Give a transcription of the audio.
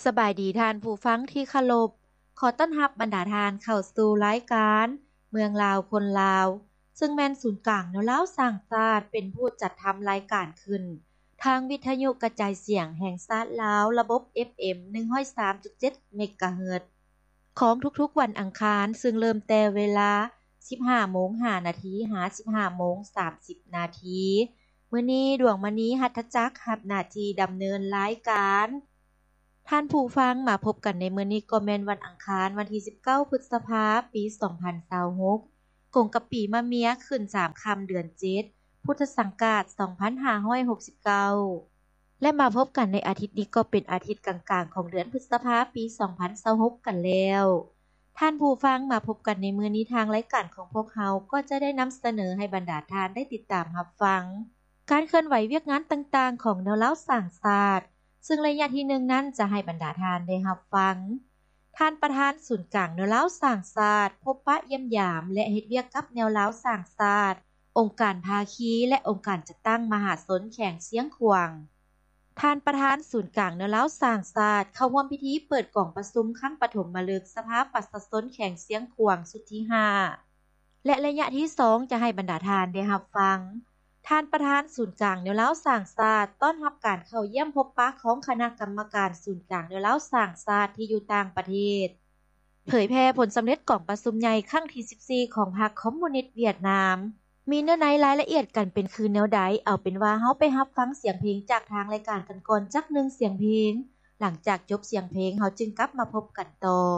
ສະບາຍດີທ່ານຜູ້ຟັງທີ່ເຄົາລົບ, ຂໍຕ້ອນຮັບບັນດາທ່ານເຂົ້າສູ່ລາຍການເມືອງລາວຄົນລາວ, ເຊິ່ງແມ່ນສູນກາງແນວລາວສ້າງຊາດເປັນຜູ້ຈັດທຳລາຍການຂຶ້ນ ທາງວິທະຍຸກະຈາຍສຽງແຫ່ງຊາດລາວ ລະບົບ ເອັຟເອັມ ໜຶ່ງຮ້ອຍສາມຈຸດເຈັດ ເມກາເຮີດ ຂອງທຸກໆວັນອັງຄານ, ເຊິ່ງເລີ່ມແຕ່ເວລາ ສິບຫ້າໂມງຫ້ານາທີ ຫາ ສິບຫ້າໂມງສາມສິບນາທີ. ມື້ນີ້ ດວງມະນີ ຫັດຖະຈັກ ຮັບໜ້າທີ່ດຳເນີນລາຍການ. ທ່ານຜູ້ຟັງ, ມາພົບກັນໃນມື້ນີ້ກໍແມ່ນວັນອັງຄານ ວັນທີສິບເກົ້າ ພຶດສະພາ ປີສອງພັນຊາວຫົກ ກົງກັບປີມະເມຍ ຂຶ້ນສາມຄ່ຳເດືອນເຈັດ ພຸດທະສັງກາດ ສອງພັນຫ້າຮ້ອຍຫົກສິບເກົ້າ ແລະ ມາພົບກັນໃນອາທິດນີ້ກໍເປັນອາທິດກາງໆຂອງເດືອນພຶດສະພາ ປີສອງພັນຊາວຫົກກັນແລ້ວ. ທ່ານຜູ້ຟັງ, ມາພົບກັນໃນມື້ນີ້ ທາງລາຍການຂອງພວກເຮົາກໍຈະໄດ້ນຳສະເໜີໃຫ້ບັນດາທ່ານໄດ້ຕິດຕາມຮັບຟັງ ການເຄື່ອນໄຫວວຽກງານຕ່າງໆຂອງແນວລາວສ້າງຊາດ, ເຊິ່ງໄລຍະທີໜຶ່ງນັ້ນຈະໃຫ້ບັນດາທ່ານໄດ້ຮັບຟັງ ທ່ານປະທານສູນກາງແນວລາວສ້າງຊາດ ພົບປະຢ້ຽມຢາມ ແລະ ເຮັດວຽກກັບແນວລາວສ້າງຊາດ, ອົງການພາຄີ ແລະ ອົງການຈັດຕັ້ງມະຫາຊົນແຂວງຊຽງຂວາງ. ທ່ານປະທານສູນກາງແນວລາວສ້າງຊາດ ເຂົ້າຮ່ວມພິທີເປີດກອງປະຊຸມຄັ້ງປະຖົມມະລຶກສະພາປະຊາຊົນແຂວງຊຽງຂວາງຊຸດທີຫ້າ ແລະ ໄລຍະທີສອງຈະໃຫ້ບັນດາທ່ານໄດ້ຮັບຟັງ ທ່ານປະທານສູນກາງແນວລາວສ້າງຊາດ ຕ້ອນຮັບການເຂົ້າຢ້ຽມພົບປະຂອງຄະນະກຳມະການສູນກາງແນວລາວສ້າງຊາດທີ່ຢູ່ຕ່າງປະເທດ, ເຜີຍແຜ່ຜົນສຳເລັດກອງປະຊຸມໃຫຍ່ຄັ້ງທີສິບສີ່ຂອງພັກຄອມມູນິດຫວຽດນາມ. ມີເນື້ອໃນລາຍລະອຽດການເປັນຄືແນວໃດ? ເອົາເປັນວ່າເຮົາໄປຮັບຟັງສຽງເພງຈາກທາງລາຍການກັນກ່ອນຈັກໜຶ່ງສຽງເພງ, ຫຼັງຈາກຈົບສຽງເພງ ເຮົາຈຶ່ງກັບມາພົບກັນຕໍ່.